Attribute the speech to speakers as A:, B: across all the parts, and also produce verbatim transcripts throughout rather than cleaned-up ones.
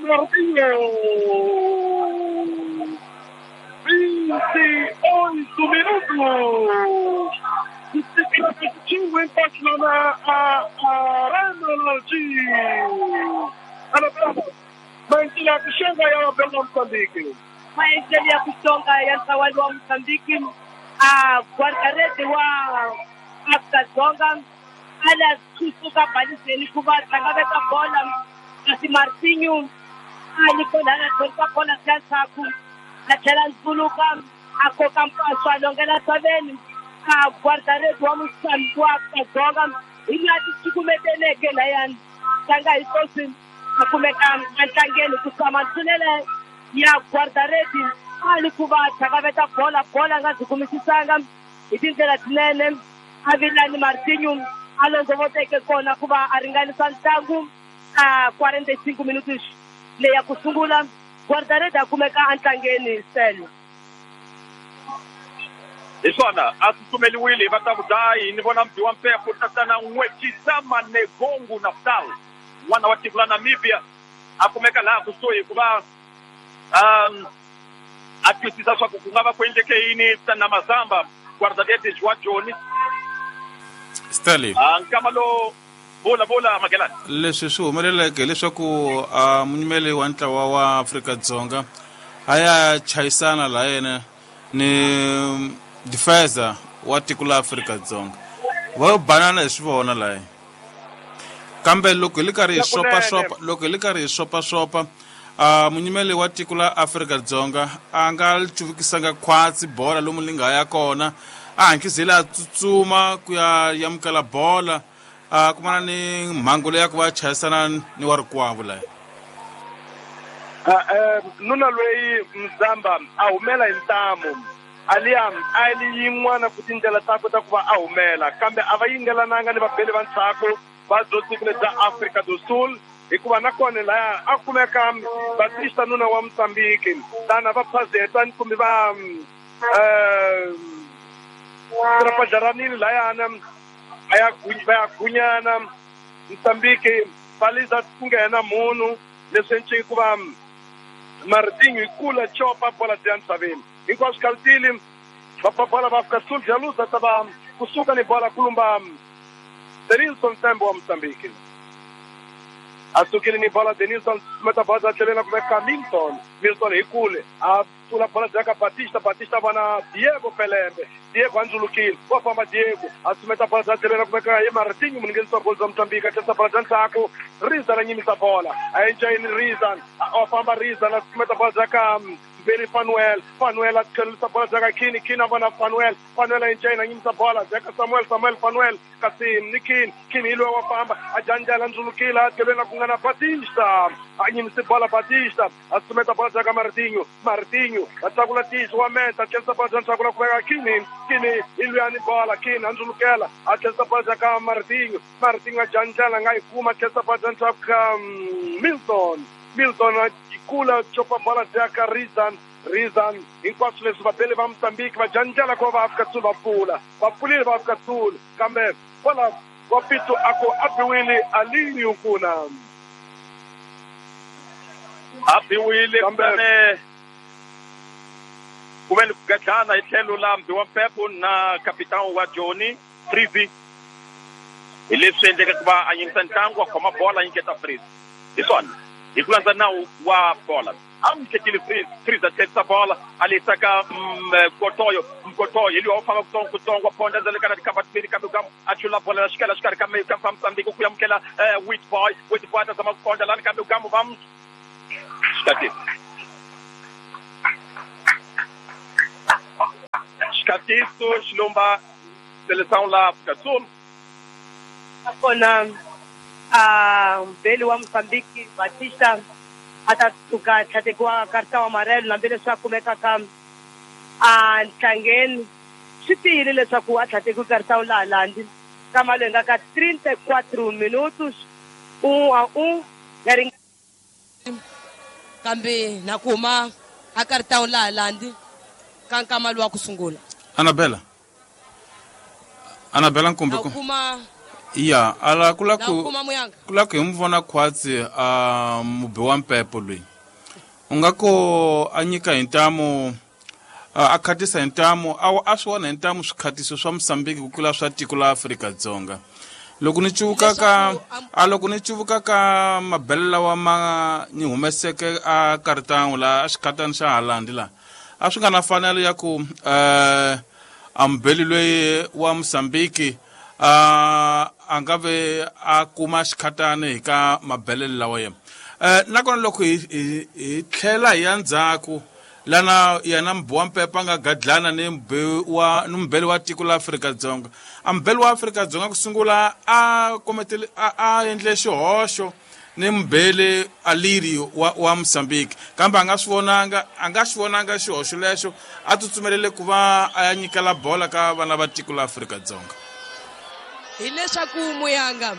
A: Martinho. vinte e oito minutos. Repetiu empate lá na Arena de Anabela. Maendeleo kushonga ya Bela Mozambique.
B: Maendeleo kushonga ya Ntawali wa Mozambique. A guarda-rede wa Afrika Dzonga ala kusuka baliseni kuva tlangaveta bola kasi Martinho ali kona na tlhontlha bola ka ndzhaku a tlhela ndzuluka a koka mpaswa a longela tsaveni a guarda-rede wa Mozambique wa Afrika Dzonga hi laha ti cukumeteleke layani tlanga hi sweswi a kumeka entlangeni ku tshama ntlunele ya guarda-rede ali ku va tlangaveta bola bola nga byi kumisisanga hi tindlela tinene a vilani Martinho a londzovoteke kona ku va a ringanisa ntlangu a quarenta e cinco minutos leyi ya ku sungula guarda-rede a kumeka entlangeni sele.
C: Hi swona a tsutsumeliwile hi vatavudayi ni vona mdzi wa mpepho tatana N'wetshisa Negongu Naftal n'wana wa tiko la Namibia a kumeka laha kusuhi ku va um a twisisa swa ku ku nga va ku endleke yini tana Mazamba guarda-redes wa Joni
D: Stanley.
C: Ah, nkama lo vula vula Magelani.
D: Leswi swi humeleleke hileswaku a munyimeli wa ntlawa wa Afrika-Dzonga a ya chayisana la yena ni defensa wa tiko la Afrika-Dzonga va yo banana hi swi vona laha kambe loko hi li karhi hi xopaxopa loko hi li karhi hi xopaxopa a munyimeli wa tiko la Afrika-Dzonga a nga cuvukisanga khwatsi bola lomu li nga ya kona a hankisile a tsutsuma ku ya yamukela bola a kumana ni mhangu leyi ya ku va chayisana ni wa rikwavo laha.
A: Nuna loyi Mzamba a humela hi ntamu aliya a li yin'wana ku tindlela takwe ta ku va a humela kambe a va yingelananga ni vabeli va ndzhaku va byo tiko bya Afrika do Sul hikuva nakona laya a kumeka Batista nuna wa Mozambique tana va phazeta kumbe va um trapajaranile layana a ya va ya gunyana Mozambique va ku nghena munhu leswi enciki ku va Martinho hi kula chopa bola bya misaveni hinkwaswo khalutile va bola va Afrika Sul bya ta va kusuka ni bola kulumba Denilson Tembo wa Mozambique a sukile ni bola Denilson meta bola tlhelela ku veka Milton Milton hi kule a pfula bola bya ka Batista Batista vona Diego Pelembe Diego a ndzulukile wa famba Diego a sumeta bola bya tlhelela ku veka hi Martinho muninghenisi wa goli bya Mozambique a tlherisa bola bya ndzhaku Rizan a nyimisa bola a enjayini Rizan a famba Rizan a sumeta bola bya ka Mberi Fanuel Fanuel a tlherisa bola bya ka Kini Kini a vona Fanuel Fanuel a enjayini a nyimisa bola bya ka Samuel Samuel Fanuel kasi ni Kini Kini hi loyi wa famba a janjela ndzulukile a tlheleni ku nga na Batista a nyimise bola Batista a sumeta bola bya ka Martinho Martinho a tlakula tihlo wa meta a tlherisa bola bya ndzhaku la ku veka Kini Kini hi luyani bola Kini a ndzulukela a tlherisa bola bya ka Martinho Martinho a janjela a nga yi kuma a tlherisa bola bya ndzhaku ka Milton Milton a kula chopa bola bya ka Rizan Rizan hinkwaswo leswi vabeli va Mozambique va janjela ku va va Afrika Sul va pfula va pfulile va Afrika Sul kambe bola wa Pito a ku a biwile a lini kuna
C: a biwile kambe ku ve ni ku gadlana hi tlhelo la mbi wa Mpepho na kapitani wa Joni Freezy hi leswi endleke ku va a yimisa ntlangu a khoma bola a nyiketa Freezy hi swona hi ku landza nawu wa bola a n'wi nyiketile Freezy Freezy a tlherisa bola a lehisa ka Mkotoyo Mkotoyo hi luya wa famba kutsongo kutsongo wa phonda endzeni ka na tikhamba timbirhi kambe ka a chula bola la xikela xikarhi ka ka Mozambique ku amukela Witboy Witboy a ta zama ku phonda lani kambe gamu va xikatisi xikatiso xilomba seleção la Afrika Sul
B: nakona a mbeli wa Mozambique Batista a ta tshuka tlhatekiwa karta wa amarelo hambileswi a kumekaka a ntlangeni swi tiyile leswaku a tlhatekiwe karta laha landi kama loyi nga ka trinta e quatro minutos um a um ya ring
E: kambe na ku huma a karta laha landi ka nkama lowu wa ku sungula
D: Anabela Anabela Nkumbi
E: na kuma
D: Ya ala kula ku kula ku hi mu vona khwatsi a mubi wa mpepo loyi u nga ko a nyika hi ntamu a khatisa hi ntamu a a swi vona hi ntamu swikhatiso swa Mozambique ku tlula swa tiko la Afrika-Dzonga. Loko ni cuvuka ka a loko ni cuvuka ka mabele lawa ma ni humeseke a kartangu la a xikhatani xa Holland la a swi nga na fanelo ya ku eh a mubeli loyi wa Mozambique a a nga ve a kuma xikhatani hi ka mabele lawa yena. Eh nakona loko hi hi tlhela hi ya ndzhaku lana yena mubi wa mpepo a nga gadlana ni mubi wa ni mubeli wa tiko la Afrika-Dzonga. A mubeli wa Afrika-Dzonga ku sungula a kometele a, a endle xihoxo ni mubeli Aliri wa, wa Mozambique kambe a nga swi vonanga a nga xi vonanga xihoxo lexo a tsutsumelele ku va a ya nyikela bola ka vana va tiko la Afrika-Dzonga.
E: Hileswaku Muyanga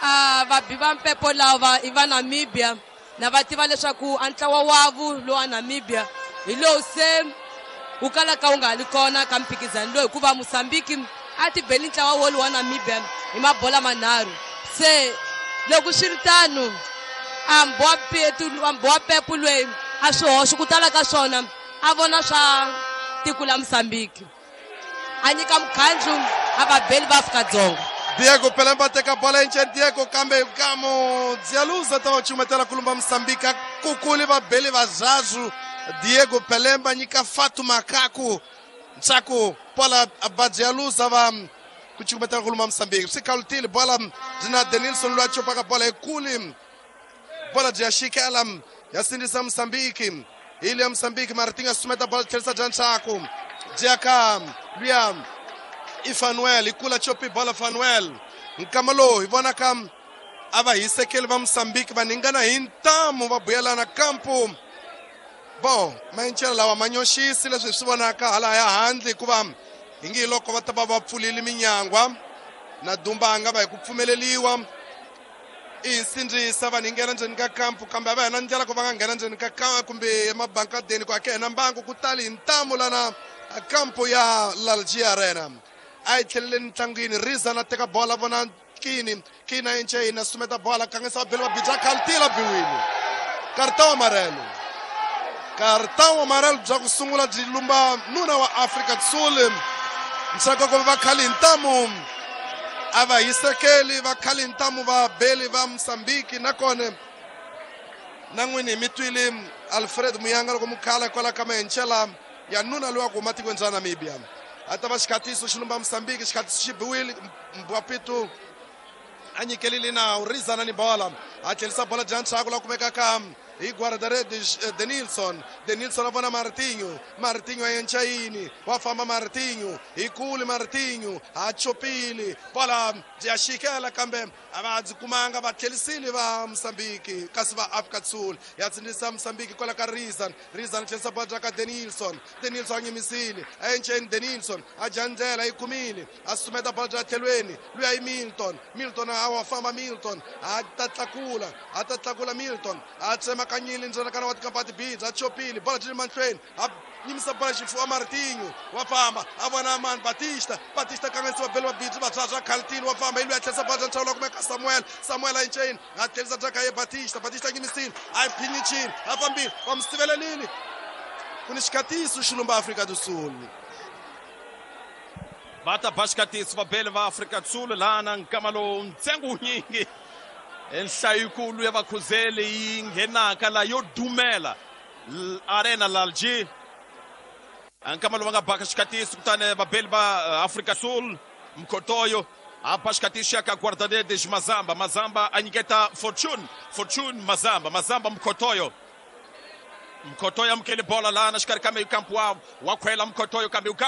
E: a vabi va mpepo lava i va Namibia na va tiva leswaku a ntlawa wavu lowa Namibia hi lowu se wu kalaka wu nga li kona ka mphikizano lowu hikuva Mozambique a ti beli ntlawa wolowu wa Namibia hi mabola manharhu. Se loko swi ri tano a mbowa mpepo loyi a swihoxo ku tala ka swona a vona swa tiko la Mozambique a nyika mukhandlu a vabeli va Afrika-Dzonga.
F: Diego Pelemba teka bola enceni Diego kambe kamo Dzialuza ta va cumetela kulumba Mozambique kukuli vabeli vazazwu Diego Pelemba nyika Fatu Makaku ntshaku bola va Dzialuza va ku cumetela kulumba Mozambique swi khalutile bola byi na Denilson loyi a copaka bola yikulu bola byi ya xikela ya sindzisa Mozambique hi le ya Mozambique Martinho a sumeta bola tlherisa bya ntshaku byi ya ka luya i Fanuel i kula chopi bola Fanuel nkama lowu hi vonaka a va hisekeli va Mozambique va ningana hi ntamu va buyelana kampu. Bon mayincela lawa ma nyoxisi leswi hi swi vonaka hala ya handle hikuva hi nge loko va ta va va pfulile minyangwa na Dumba a nga va hi ku pfumeleliwa i hi sindzisa vanhu hi nghena ndzeni ka kampu kambe a va hina ndlela ku va nga nghena ndzeni ka kampu kumbe emabankadeni ku ake hina mbangu ku tali hi ntamu lana kampu ya Lalji Arena. A yi tlheleleni ntlangwini Riza na teka bola vona Kini Kini a enceni a sumeta bola kangisa vabeli va bija khalutile biwile cartão amarelo cartão amarelo bya ku sungula byi lumba nuna wa Afrika do Sul ntsako ku va khali ntamu a va hisekeli va khali ntamu va beli va Mozambique nakona na n'wini hi mi twile Alfred Muyanga loko mukhala kwala ka mahencela ya nuna loyi wa ku huma tikweni ra Namibia a ta va xikhatiso xi lumba Mozambique xikhatiso xi biwile Mbwapitu a nyikelile nawu Rizana ni bola a tlherisa bola bya ntshaku la kumeka ka hi guarda-redes Denilson Denilson a vona Martinho Martinho a encayini wa famba Martinho hi kule Martinho a chopile bola bya xikela kambe a va byi kumanga va tlherisile va Mozambique kasi va Afrika do Sul ya tsindzisa Mozambique kwala ka Rizan Rizan tlherisa bola bya ka Denilson Denilson a nyimisile a encayini Denilson a dya ndlela yi kumile a sumeta bola bya tlhelweni luya i Milton Milton a wa famba Milton a ta tlakula a ta tlakula Milton a tsema kanyile ndzena kana wa tikampati bidza a chopile bola byi le mahlweni a nyimisa bola xifuwa Martinho wa famba a vona mani Batista Batista kanganyisiwa beli va bidzi va bya khalutile wa famba hi luya tlherisa bola bya nchawula kumeka Samuel Samuel a enceni a tlherisa bya ka ye Batista Batista a nyimisile a yi phinyichile a fambile va mu sivelelile ku ni xikhatiso xi lumba Afrika do Sul
C: va ta ba xikhatiso vabeli va Afrika do Sul lana nkama lowu ntsengo wunyingi nhlayikulu ya vakhuzeli yi nghenaka la yo dumela Arena Lalji nkama lowu va nga baka xikhatiso kutani vabeli va Afrika Sul Mkhotoyo a ba xikhatiso ya ka guarda-redes Mazamba Mazamba a nyiketa Fortune Fortune Mazamba Mazamba Mkhotoyo Mkhotoyo amukele bola lana xikarhi ka kampu wa wa khwela Mkhotoyo kambe